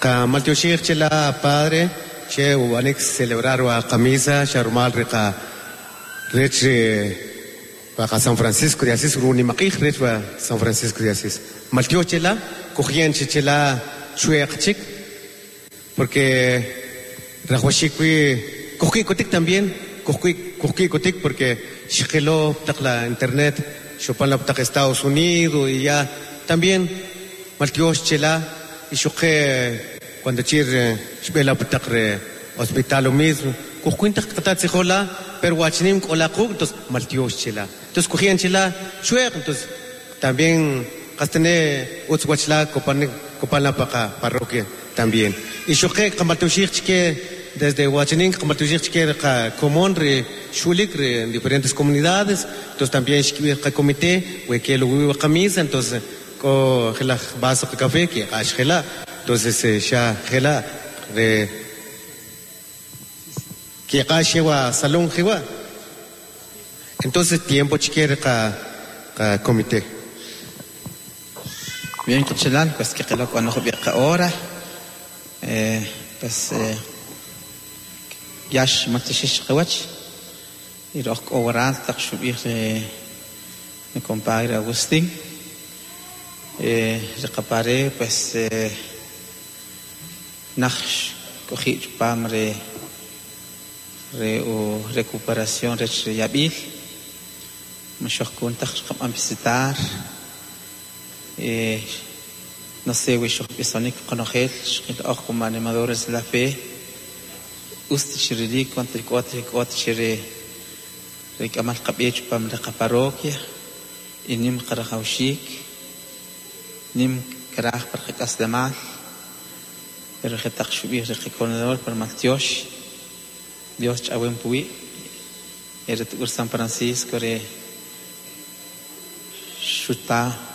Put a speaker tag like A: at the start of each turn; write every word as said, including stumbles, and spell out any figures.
A: Ka maltioxij chela padre che ubanik celebrar wa qamisa xa rumal ri qa rech ri wa qa San Francisco de Asís runimaq'ij rech wa San Francisco de Asís. Maltiox chela kujyen chi chela chweq chik porque rajwaxik wi kujki'kotik también kujki kujki'kotik porque xqilo taq la internet xopan la taq Estados Unidos y ya también maltiox chela y xuqe cuando chir xb'e la taq re hospital lo mismo kujkuin taq qata tzijol la pero wachinim k'ola quk' entonces maltiox chela entonces kujyen chela chweq entonces también qastane utz wach la kopanik kopan la pa qa parroquia también y xuqe qamaltioxij chike desde Huachinín qamaltioxij chike qa komon ri xulik ri en diferentes comunidades entonces también xkib'ij qa comité we ke lo wi qamisa entonces k'o jelaj vaso qa café que q'ax jela entonces xa jela re que q'ax wa salón jiwa entonces tiempo chike ri qa qa comité.
B: Bien, qachalal, pues que qilo k'o jub'iq hora. Eh, pues eh, yax maltioxij qawach y roj k'o waral taq xub'ij ri mi compadre Agustín. Eh, ri qapare pues eh, naj k'oji' chupam ri ri u recuperación rech ri yab'il maxoj kun taq xqab'an visitar eh, no sé wi xojb'isonik qonojel xqil oj como animadores de la fe ust xirilik cuando k'ot k'ot chiri ri k'amal qab'e chupam ri qaparroquia y nim qarajawxik nim karaj par qak'aslemal pero jetaq xub'ij ri qacoordinador par maltiox Dios ch'awem puwi' eri t'ur San Francisco re xuta